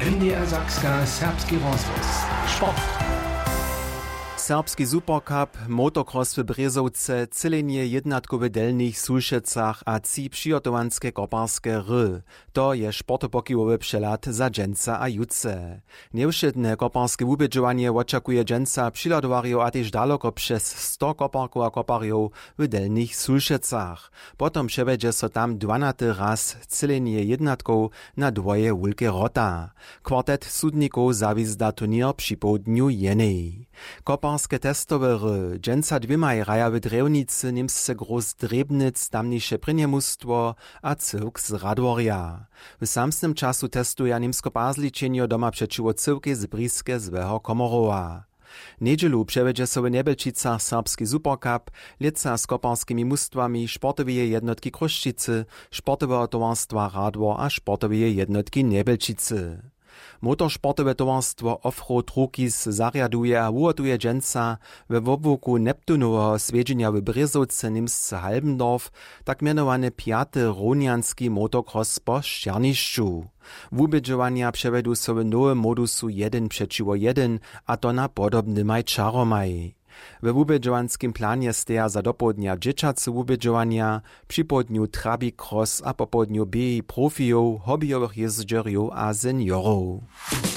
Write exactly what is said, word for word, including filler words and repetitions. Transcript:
N D R Sakska, serbski rozhłos. Sport. Serbski supercup, motocross w Brězowce, třělenje jědnatkow w Delnich Sulšecach a tři přihotowanske koparske hry. To je sportopokiwowy přehlad za dźensa a jutře. Njewšědne koparske wubědźowanje wočakuje dźensa přihladowarjow a tež daloko přez sto koparkow a koparjow w Delnich Sulšecach. Potom přewjedźe so tam dwanaty raz třělenje jědnatkow na dwoje wulke wrota. Kwartet sudnikow zawizda turněr připołdnju jenej. Koparske testowe hry dźensa dwěmaj hraja w Drjewnicy němsce Groß Drjebnitz tamniše prěnje mustwo a cyłk z Radworja. W samsnym času testuja Němsko-Pazličenjo doma přećiwo cyłkej z Briske złeho Komorowa. Njedźelu přewjedźe so w Njebjelčicach serbski Supercup, lětsa z koparskimi mustwami sportoweje jednotki Chrósćicy, sportoweho towarstwa Radwor a sportoweje jednotki Njebjelčicy. Motorsportowe towarstwo Offroad Rukis zarjaduje a wuhotuje dźensa we wobłuku Neptunoweho swjedźenja w Brězowce němsce Halbendorf tak mjenowany pjaty rownjanski motocross po sćernišću. Wubědźowanja přewjedu so w nowym modusu jedyn přećiwo jedyn, a to na podobnymaj čaromaj. We wubědźowanskim planje steja za dopołdnja dźěćace wubědźowanja, připołdnju trabi cross a popołdnju běhi profijow, hobbyjowych jězdźerjow a seniorow.